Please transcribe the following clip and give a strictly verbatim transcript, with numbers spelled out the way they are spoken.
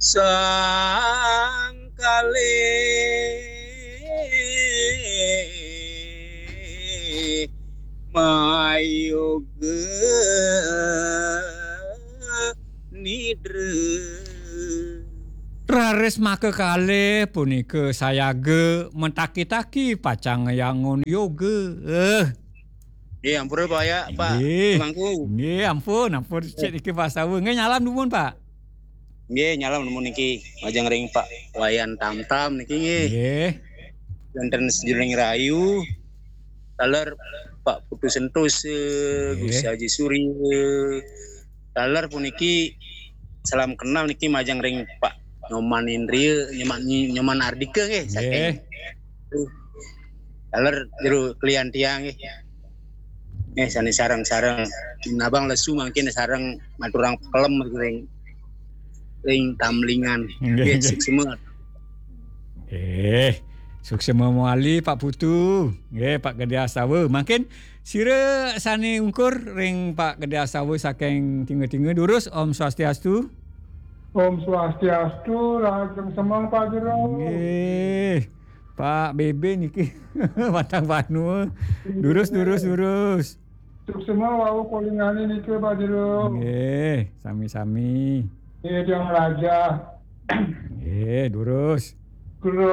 Sang kalih mayoga nidra. Raris maka kalih punika sayaga mataki-taki pacang ngayangun yoga. Eh. Nggih, ampura, Pak, ya, Pak. Nggih. Mangku. Nggih, ampun, ampun, cek niki Pak Sawa. Nggih, nyalam dumun, Pak. Nggih, nyalam dumun niki majeng ring Pak Wayan Tamtam niki nggih. Nggih. Wonten sejeroning rayu, taler Pak Putu Sentosa, nggih. Gusti Haji Surya. Taler puniki salam kenal niki majeng ring Pak Nyoman Indria, Nyoman, Nyoman Ardika nggih, nggih. Saking taler jero klian tiang nggih. Nggih, sane sareng-sareng. Abang lesu mangkin sareng maturang pekelem ring, ring tamlingan. Nggih, nggih, nggih. Suksma. Eh, suksma mawali Pak Putu. Nggih, Pak Gede Astawa. Mangkin sira sane ungkur ring Pak Gede Astawa saking Tinga-Tinga. Durus, Om Swastiastu. Om Swastiastu, rahajeng semeng, Pak Jero. Nggih. Pak B B niki Batang Banua. Durus, durus, durus. Suksma wau kolingane niki, Pak Jero. Nggih, sami-sami. Nggih, Tiang Raja. Nggih, durus. Kula